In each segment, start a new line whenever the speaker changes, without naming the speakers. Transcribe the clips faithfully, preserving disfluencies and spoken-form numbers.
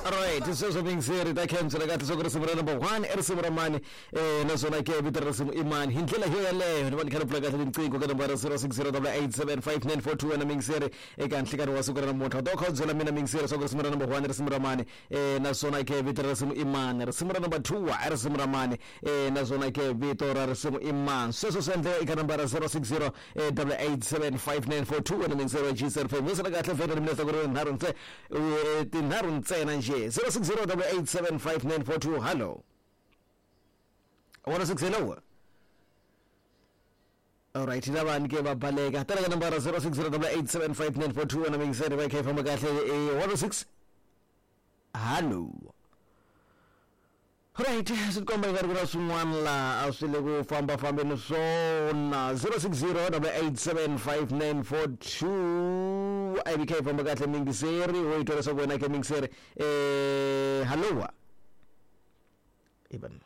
Alright, sweswo mingiseri ta khensa kahle swa ku risimu ra number one i risimu ra mani eh naswona ke vito ra risimu i mani hi ndlela yo yaleyo ni va ni kha ni pfula kahle tinqingho ka nambara zero six zero double eight seven five nine four two wena mingiseri eka nhlikani wa siku ra namuntlha u ta kha u byela mina mingiseri swa ku risimu ra number one i risimu ra mani eh naswona ke vito ra risimu i mani risimu ra number two i risimu ra mani eh naswona ke vito ra risimu i mani sweswo swi endleka eka nambara zero six zero double eight seven five nine four two wena mingiseri wa G seven five misela kahle vhele ni mina ku ri nharhu ntse tinharhu ntsena nje zero six zero double eight seven five nine four two hello one six hello alright lavani ke va baleka tala ka nambara zero six zero double eight seven five nine four two wena mingiseri va kha yi famba kahle eh one six hello right swi tikomba yi nga ri ku na swin'wana laha a swi le ku fambafambeni swona zero six zero double eight seven five nine four two a yi kha yi famba kahle mingiseri wo yi twa leswaku wena ke mingiseri eh hallowa even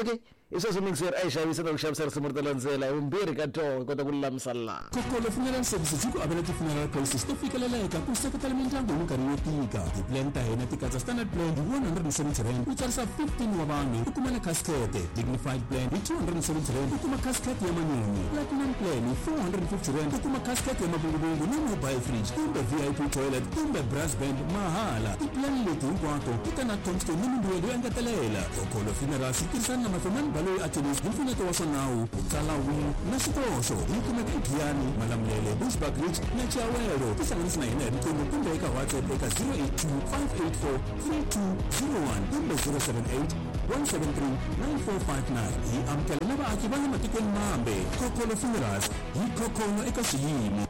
okay i sweswo mingiseri a yi xavisa na ku xavisa risimu ri ta landzela hi vumbirhi ka toho hi kota ku lulamisa laha
Kokolo Funeral Services yi ku avela ti-funeral policies to fikeleleka ku seketela mindyangu hi minkarhi yo tika. Ti-plan ta hina ti katsa standard plan hi one hundred and seventy rand u tsarisa fifteen wa vanhu u kuma na casket, dignified plan hi two hundred and seventy rand u kuma casket ya manyunyu, platinum plan hi four hundred and fifty rand u kuma casket ya mavunguvungu na mobile fridge kumbe V I P toilet kumbe brass band mahala. Ti-plan leti hinkwato ti ta na tombstone ni mimbuyelo yo engetelela. Kokolo Funerals yi tirhisana na Mafemani Baloyi Attorneys hi mpfuneto wa swa nawu ku tsala will na xikoxo. Yi kumeka eGiyani, Malamulele, Bushbuckridge na Chiawelo. Tihlanganisi na hina hi riqingho kumbe eka WhatsApp eka zero eight two five eight four three two zero one kumbe zero seven eight one seven three nine four five nine. Hi amukela na vaaki va le matikweni mambe. Kokolo Funerals hi khokholo eka xiyimo.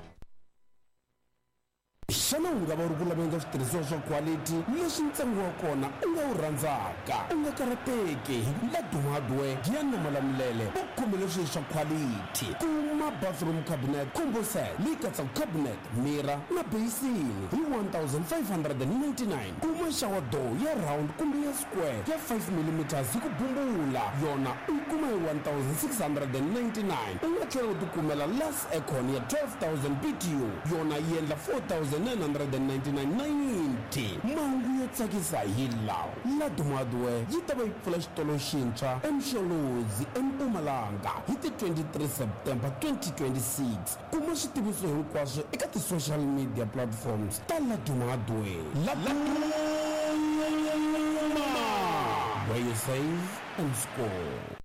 Xana u nga va u ri ku laveni ka switirhisiwa swa quality leswi ntsengo wa kona u nga wu rhandzaka? U nga karhateki hi ku Laduma Hardware Giyani na Malamulele va khomele swilo swa quality. Kuma bathroom cabinet combo set leyi katsaka cabinet, mirror na basin hi one thousand five hundred and ninety-nine. Kuma shower door ya round kumbe ya square ya five millimeters hi ku bumbula yona u yi kuma hi one thousand six hundred and ninety-nine. U nga tlhela u tikumela Lux Aircon ya twelve thousand B T U yona yi endla four thousand nine hundred and ninety-nine ninety. Mahungu yo tsakisa hi lawa. Laduma Hardware yi ta va yi pfula xitolo xintshwa eMsholozi eMpumalanga hi ti twenty-three September twenty twenty-six. Kuma switiviso hinkwaswo eka ti-social media platforms ta Laduma Hardware. Laduma, where you save and score.